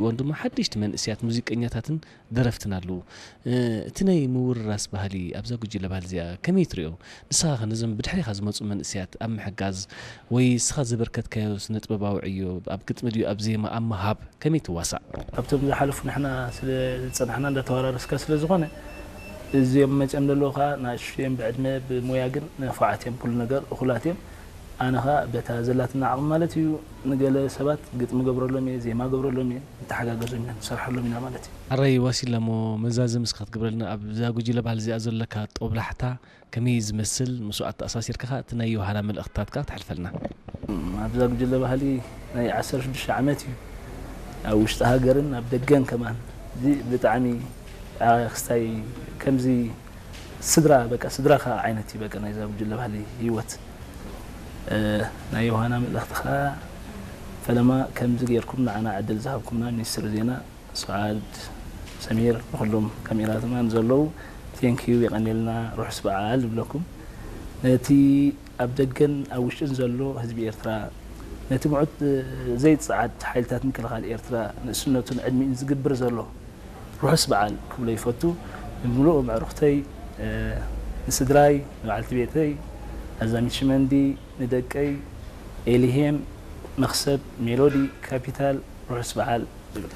እውን ድማ ሓደሽቲ መንእሰያት ሙዚቀኛታትን ደረፍትን ኣለዉ። እቲ ናይ ምውርራስ ባህሊ ኣብዛ ጉጅለ ባህሊ እዚኣ ከመይ ትሪኦ? ንስኻ ከ ነዞም ብድሕሪኻ ዝመፁ መንእሰያት ኣብ ምሕጋዝ ወይ ንስኻ ዘበርከትካዮ ስነ ጥበባዊ ዕዮ ኣብ ግጥሚ ድዩ ኣብ ዜማ ኣብ ምሃብ ከመይ ትዋሳእ? ኣብቶም ዝሓለፉ ንሕና ስለ ዝፀናሕና እንዳተወራረስካ ስለ ዝኾነ እዚኦም መፅኦም ዘለዉ ከዓ ንኣሽቱ እዮም ብዕድመ ብሞያ ግን ንፉዓት እዮም ኩሉ ነገር እኹላት እዮም። ኣነ ከዓ በታ ዘላትና ዓቕሚ ማለት እዩ ንገለ ሰባት ግጥሚ ገብረሎም እየ ዜማ ገብረሎም እየ። ንተሓጋገዞም ኢና ንሰርሐሎም ኢና ማለት እዩ። ኣራይ ዋሲላ እሞ መዛዘሚ እስካ ክትገብረልና ኣብዛ ጉጅለ ባህሊ እዚኣ ዘለካ ጦብላሕታ ከመይ ዝመስል ምስኡ ኣተኣሳሲርካ ከዓ እቲ ናይ ዮሃና መልእክትታትካ ክትሕልፈልና። ኣብዛ ጉጅለ ባህሊ ናይ ዓሰርተ ሽዱሽተ ዓመት እዩ ኣብ ውሽጢ ሃገርን ኣብ ደገን ከማን እዚ ብጣዕሚ ክስታይ ከምዚ ስድራ በቃ ስድራኻ ዓይነት እዩ በቃ ናይዛ ጉጅለ ባህሊ ህይወት። ናይ ዮሃና መልእኽቲ ከዓ ፈለማ ከምዚ ጌርኩም ንዓና ዕድል ዝሃብኩምና ሚኒስትሪ ዜና ሱዓድ ሰሚር ንኩሎም ካሜራማን ዘለዉ thank you የቐንየልና ርሑስ በዓል ንብለኩም። ነቲ ኣብ ደገን ኣብ ውሽጥን ዘሎ ህዝቢ ኤርትራ ነቲ ምዑት ዘይጸዓድ ሓይልታት ምክልኻል ኤርትራ ንእስነቱን ዕድሚኡን ዝግብር ዘሎ ርሑስ በዓል ክብሎ ይፈቱ። ንምሉእ ኣዕሩኽተይ፣ ንስድራይ፣ ንበዓልቲ ቤተይ ኣዛሚት ሽመንዲ፣ ንደቀይ ኤሊሄም፣ መኽሰብ፣ ሜሎዲ፣ ካፒታል ርሑስ በዓል ይብል።